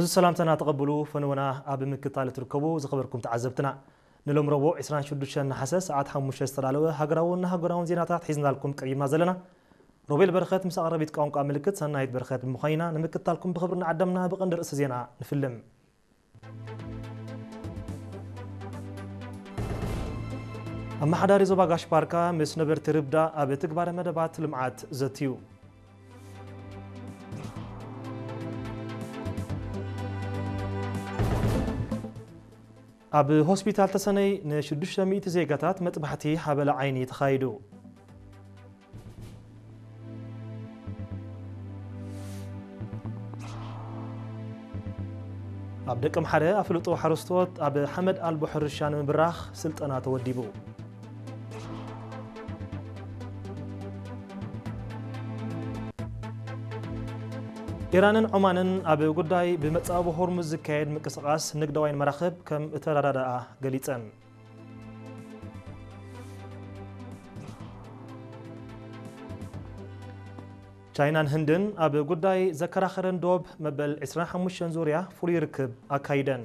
እዚ ሰላምታና ተቐብሉ፣ ፈነወና ኣብ ምክታል ትርከቡ ዝኸበርኩም ተዓዘብትና። ንሎም ረቡዕ ዕስራን ሽዱሽተን ነሓሰ ሰዓት ሓሙሽተ ዝተዳለወ ሃገራውን ሃገራውን ዜናታት ሒዝናልኩም ቀሪብና ዘለና። ሮቤል በረኸት ምስ ኣቕረቢት ቋንቋ ምልክት ሰናይት በረኸት ብምዃይና ንምክታልኩም ብኽብሪ ንዓደምና ብቐንዲ ርእሲ ዜና ንፍልም። ኣመሓዳሪ ዞባ ጋሽ ባርካ ምስ ነበርቲ ርብዳ ኣብ ትግባረ መደባት ልምዓት ዘትዩ። ኣብ ሆስፒታል ተሰነይ ንሽዱሽተ ሚእቲ ዜጋታት መጥባሕቲ ሓበላ ዓይኒ ተኻይዱ። ኣብ ደቀምሓረ ኣፍልጦ ሓረስቶት ኣብ ሓመድ ኣልቦ ሕርሻ ንምብራኽ ስልጠና ተወዲቡ። ኢራንን ዖማንን ኣብ ጉዳይ ብመጻወ ሆርሙዝ ዝካየድ ምንቅስቓስ ንግዳውያን መራኽብ ከም እተረዳድኣ ገሊጸን። ቻይናን ህንድን ኣብ ጉዳይ ዘከራኸረን ዶብ መበል ዕስራን ሓሙሽተን ዙርያ ፍሉይ ርክብ ኣካይደን።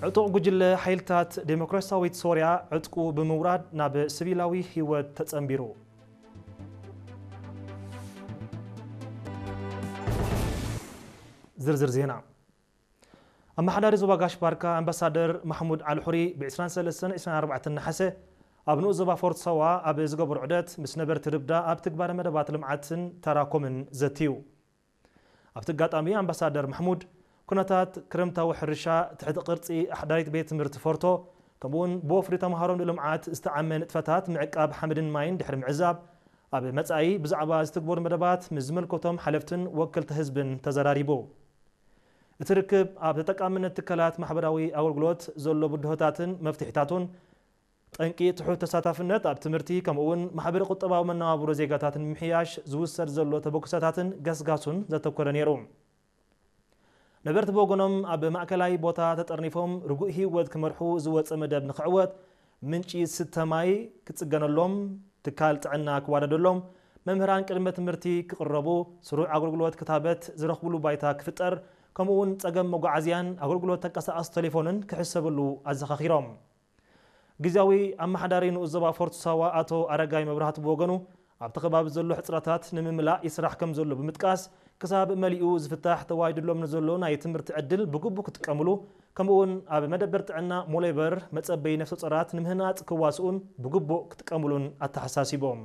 ዕጡቕ ጉጅለ ሓይልታት ዴሞክራሲያዊት ሶርያ ዕጥቁ ብምውራድ ናብ ሲቪላዊ ህይወት ተጸንቢሩ። ዝርዝር ዜና። ኣመሓዳሪ ዞባ ጋሽ ባርካ ኣምባሳደር ማሕሙድ ኣልሑሪ ብ ዕስራን ሰለስተን ዕስራን ኣርባዕተን ነሓሰ ኣብ ንኡስ ዞባ ፎርት ሳዋ ኣብ ዝገበሮ ዑደት ምስ ነበርቲ ርብዳ ኣብ ትግባረ መደባት ልምዓትን ተራኮምን ዘትዩ። ኣብቲ ኣጋጣሚ ኣምባሳደር ማሕሙድ ኩነታት ክረምታዊ ሕርሻ፣ ትሕቲ ቅርጺ ኣሕዳሪት ቤት ትምህርቲ ፎርቶ፣ ከምኡውን ብወፍሪ ተምሃሮ ንልምዓት ዝተዓመ ንጥፈታት ምዕቃብ ሓመድን ማይን ድሕሪ ምዕዛብ፣ ኣብ መጻኢ ብዛዕባ ዝትግበሩ መደባት ምስ ዝመልከቶም ሓለፍትን ወከልቲ ህዝብን ተዘራሪቡ። እቲ ርክብ ኣብ ተጠቃምነት ትካላት ማሕበራዊ ኣገልግሎት ዘሎ ብድሆታትን መፍትሒታቱን፣ ጠንቂ ትሑት ተሳታፍነት ኣብ ትምህርቲ፣ ከምኡውን ማሕበረ ቁጠባዊ መነባብሮ ዜጋታት ንምምሕያሽ ዝውሰድ ዘሎ ተበግሶታትን ገስጋሱን ዘተኮረ ነይሩ። ነበርቲ ብወገኖም ኣብ ማእከላይ ቦታ ተጠርኒፎም ርጉእ ህይወት ክመርሑ ዝወጸ መደብ ንኽዕወት ምንጪ ዝስተ ማይ ክጽገነሎም፣ ትካል ጥዕና ክዋደደሎም፣ መምህራን ቅድመ ትምህርቲ ክቕረቡ፣ ስሩዕ ኣገልግሎት ክታበት ዝረኽብሉ ባይታ ክፍጠር፣ ከምኡውን ጸገም መጓዓዝያን ኣገልግሎት ተንቀሳቓሲ ቴሌፎንን ክሕሰብሉ ኣዘኻኺሮም። ግዝያዊ ኣመሓዳሪ ንኡስ ዞባ ፎርት ሳዋ ኣቶ ኣረጋይ መብራህቱ ብወገኑ፣ ኣብቲ ከባቢ ዘሎ ሕጽረታት ንምምላእ ይስራሕ ከም ዘሎ ብምጥቃስ፣ ክሳብ መሊኡ ዝፍታሕ ተዋሂዱሎም ንዘሎ ናይ ትምህርቲ ዕድል ብግቡእ ክጥቀምሉ፣ ከምኡውን ኣብ መደበር ጥዕና ሞሌበር መጸበዪ ነፍሰ ጾራት ንምህናጽ ክዋስኡን ብግቡእ ክጥቀምሉን ኣተሓሳሲቦም።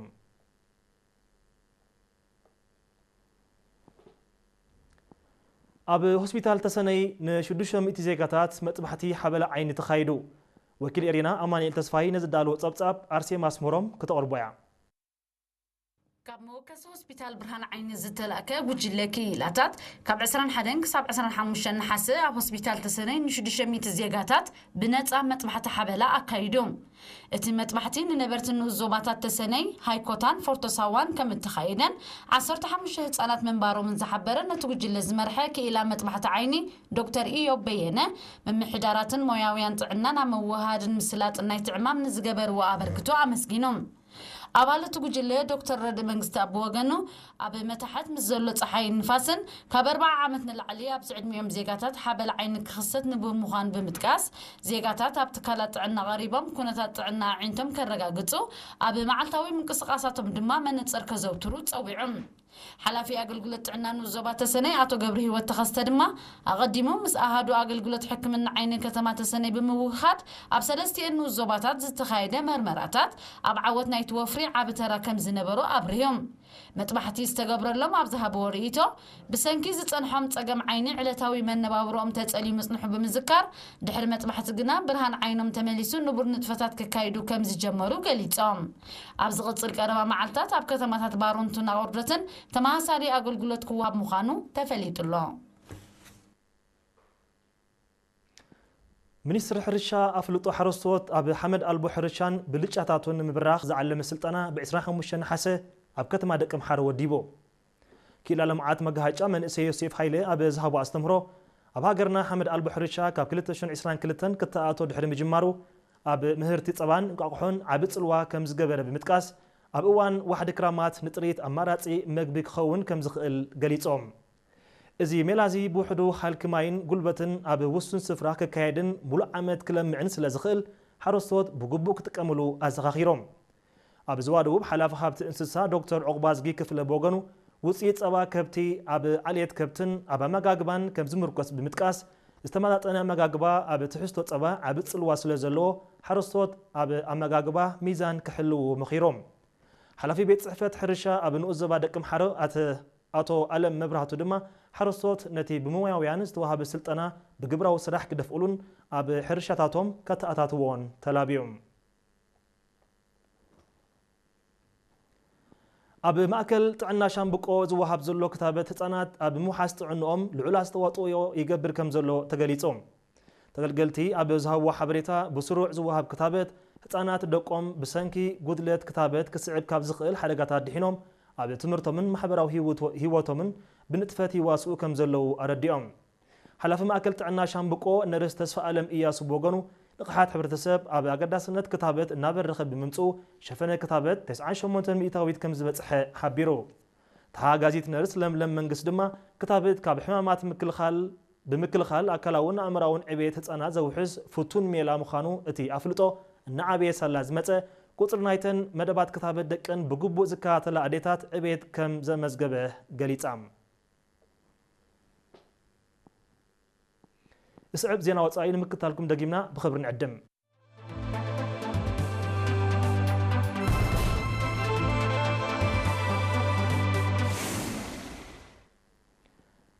ኣብ ሆስፒታል ተሰነይ ንሽዱሽተ ሚእቲ ዜጋታት መጥባሕቲ ሓበላ ዓይኒ ተኻይዱ። ወኪል ኤሪና ኣማኑኤል ተስፋይ ነዚ ዳለዎ ጸብጻብ ኣርሴማ ኣስመሮም ክተቕርቦ እያ። ካብ መወከሲ ሆስፒታል ብርሃን ዓይኒ ዝተላእከ ጉጅለ ክኢላታት ካብ ዕስራን ሓደን ክሳብ ዕስራን ሓሙሽተን ነሓሰ ኣብ ሆስፒታል ተሰነይ ንሽዱሽተ ሚእቲ ዜጋታት ብነጻ መጥባሕቲ ሓበላ ኣካይዱ። እቲ መጥባሕቲ ንነበርቲ ንኡስ ዞባታት ተሰነይ፣ ሃይኮታን ፎርቶሳዋን ከም እተኻየደን ዓሰርተ ሓሙሽተ ህጻናት ምንባሮምን ዝሓበረ ነቲ ጉጅለ ዝመርሐ ክኢላ መጥባሕቲ ዓይኒ ዶክተር ኢዮብ በየነ፣ ምምሕዳራትን ሞያውያን ጥዕናን ኣብ ምውህሃድን ምስላጥን ናይቲ ዕማም ንዝገበርዎ ኣበርክቶ ኣመስጊኑ። ኣባል እቲ ጉጅለ ዶክተር ረድእ መንግስቲ ኣብ ወገኑ፣ ኣብ መታሕት ምስ ዘሎ ጸሓይን ንፋስን ካብ ኣርብዓ ዓመት ንላዕሊ ኣብዚ ዕድሚኦም ዜጋታት ሓበል ዓይኒ ክኽሰት ንቡር ምዃኑ ብምጥቃስ፣ ዜጋታት ኣብ ትካላት ጥዕና ቀሪቦም ኩነታት ጥዕና ኣዒንቶም ከረጋግጹ፣ ኣብ መዓልታዊ ምንቅስቓሳቶም ድማ መነጽር ከዘውትሩ ጸዊዑ። ሓላፊ ኣገልግሎት ጥዕና ንኡስ ዞባ ተሰነይ ኣቶ ገብረ ህይወት ተኸስተ ድማ፣ ኣቐዲሙ ምስ ኣሃዱ ኣገልግሎት ሕክምና ዓይኒ ከተማ ተሰነይ ብምውህሃድ፣ ኣብ ሰለስቲኤን ንኡስ ዞባታት ዝተኻየደ መርመራታት ኣብ ዓወት ናይቲ ወፍሪ ዓቢ ተራ ከም ዝነበሮ ኣብሪሁ። መጥባሕቲ ዝተገብረሎም ኣብ ዝሃብዎ ርእይቶ፣ ብሰንኪ ዝጸንሖም ጸገም ዓይኒ ዕለታዊ መነባብሮኦም ተጸልዩ ምጽንሑ ብምዝካር፣ ድሕሪ መጥባሕቲ ግና ብርሃን ዓይኖም ተመሊሱ ንቡር ንጥፈታት ክካይዱ ከም ዝጀመሩ ገሊጾም። ኣብ ዝቕጽል ቀረባ መዓልታት ኣብ ከተማታት ባሮንቱን ኣቑርደትን ተመሳሳሊ ኣገልግሎት ክወሃብ ምዃኑ ተፈሊጡ ኣሎ። ሚኒስትሪ ሕርሻ ኣፍልጦ ሓረስቶት ኣብ ሓመድ ኣልቦ ሕርሻን ብልጫታቱን ንምብራኽ ዝዓለመ ስልጠና ብ ዕስራን ሓሙሽተን ነሓሰ ኣብ ከተማ ደቀምሓረ ወዲቡ። ክኢላ ልምዓት መጋሃጫ መንእሰይ ዮሴፍ ሃይለ ኣብ ዝሃቦ ኣስተምህሮ፣ ኣብ ሃገርና ሓመድ ኣልቦ ሕርሻ ካብ ክልተ ሽሕን ዕስራን ክልተን ክተኣቶ ድሕሪ ምጅማሩ፣ ኣብ ምህርቲ ጸባን እንቋቑሖን ዓቢ ጽልዋ ከም ዝገበረ ብምጥቃስ፣ ኣብ እዋን ዋሕዲ ክራማት ንጥሪት ኣማራጺ መግቢ ክኸውን ከም ዝኽእል ገሊጾም። እዚ ሜላ እዚ ብውሕዱ ሃልኪ ማይን ጉልበትን ኣብ ውሱን ስፍራ ክካየድን ሙሉእ ዓመት ክለምዕን ስለ ዝኽእል ሓረስቶት ብግቡእ ክጥቀምሉ ኣዘኻኺሮም። ኣብ ዞባ ደቡብ ሓላፊ ሃብቲ እንስሳ ዶክተር ዑቕባዝጊ ክፍለ ብወገኑ ውፅኢት ጸባ ከብቲ ኣብ ዓሌት ከብትን ኣብ ኣመጋግባን ከም ዝምርኮስ ብምጥቃስ ዝተመጣጠነ ኣመጋግባ ኣብ ትሕዝቶ ጸባ ዓቢ ጽልዋ ስለ ዘለዎ ሓረስቶት ኣብ ኣመጋግባ ሚዛን ክሕልዉ መኺሮም። ሓላፊ ቤት ጽሕፈት ሕርሻ ኣብ ንኡስ ዞባ ደቂ ኣምሓረ ኣተ ኣቶ ኣለም መብራህቱ ድማ ሓረስቶት ነቲ ብሞያውያን ዝተዋሃበ ስልጠና ብግብራዊ ስራሕ ክደፍኡሉን ኣብ ሕርሻታቶም ከተኣታትዎን ተላብዮም። ኣብ ማእከል ጥዕና ሻምብቆ ዝወሃብ ዘሎ ክታበት ህጻናት ኣብ ምውሓስ ጥዕንኦም ልዑል ኣስተዋጽኦ ይገብር ከም ዘሎ ተገሊጹ። ተገልገልቲ ኣብ ዝሃብዎ ሓበሬታ ብስሩዕ ዝወሃብ ክታበት ህጻናት ደቆም ብሰንኪ ጉድለት ክታበት ክስዕብ ካብ ዝኽእል ሓደጋታት ድሒኖም ኣብ ትምህርቶምን ማሕበራዊ ህይወቶ- ህይወቶምን ብንጥፈት ይዋስኡ ከም ዘለዉ ኣረዲኦም። ሓላፊ ማእከል ጥዕና ሻምብቆ ነርስ ተስፋ ኣለም እያሱ ብወገኑ ልቕሓት ሕብረተሰብ ኣብ ኣገዳስነት ክታበት እናበረኸ ብምምፅኡ ሸፈነ ክታበት ተስዓን ሸሞንተን ሚእታዊት ከም ዝበፅሐ ሓቢሩ። ተሓጋዚት ነርስ ለምለም መንግስት ድማ ክታበት ካብ ሕማማት ምክልኻል ብምክልኻል ኣካላውን ኣእምራውን ዕቤት ህፃናት ዘውሕስ ፍቱን ሜላ ምዃኑ እቲ ኣፍልጦ እናዓበየ ሳላ ዝመፀ ቁፅሪ ናይተን መደባት ክታበት ደቀን ብግቡእ ዝከታተላ ኣዴታት ዕቤት ከም ዘመዝገበ ገሊፃ። ዝስዕብ ዜና ወጻኢ ንምክታልኩም ደጊምና ብኽብሪ ንዕድም።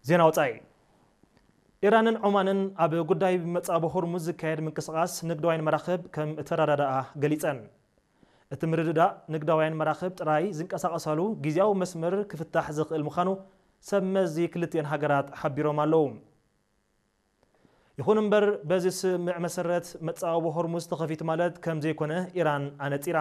ዜና ወጻኢ። ኢራንን ዖማንን ኣብ ጉዳይ መጻብ ሆርሙዝ ዝካየድ ምንቅስቓስ ንግዳውያን መራኽብ ከም እተረዳድኣ ገሊጸን። እቲ ምርድዳእ ንግዳውያን መራኽብ ጥራይ ዝንቀሳቐሳሉ ግዜያዊ መስመር ክፍታሕ ዝኽእል ምዃኑ ሰብ መዚ ክልቲኤን ሃገራት ሓቢሮም ኣለዉ። ይኹን እምበር በዚ ስምምዕ መሰረት መጻወቢ ሆርሙዝ ተኸፊቱ ማለት ከም ዘይኮነ ኢራን ኣነጺራ።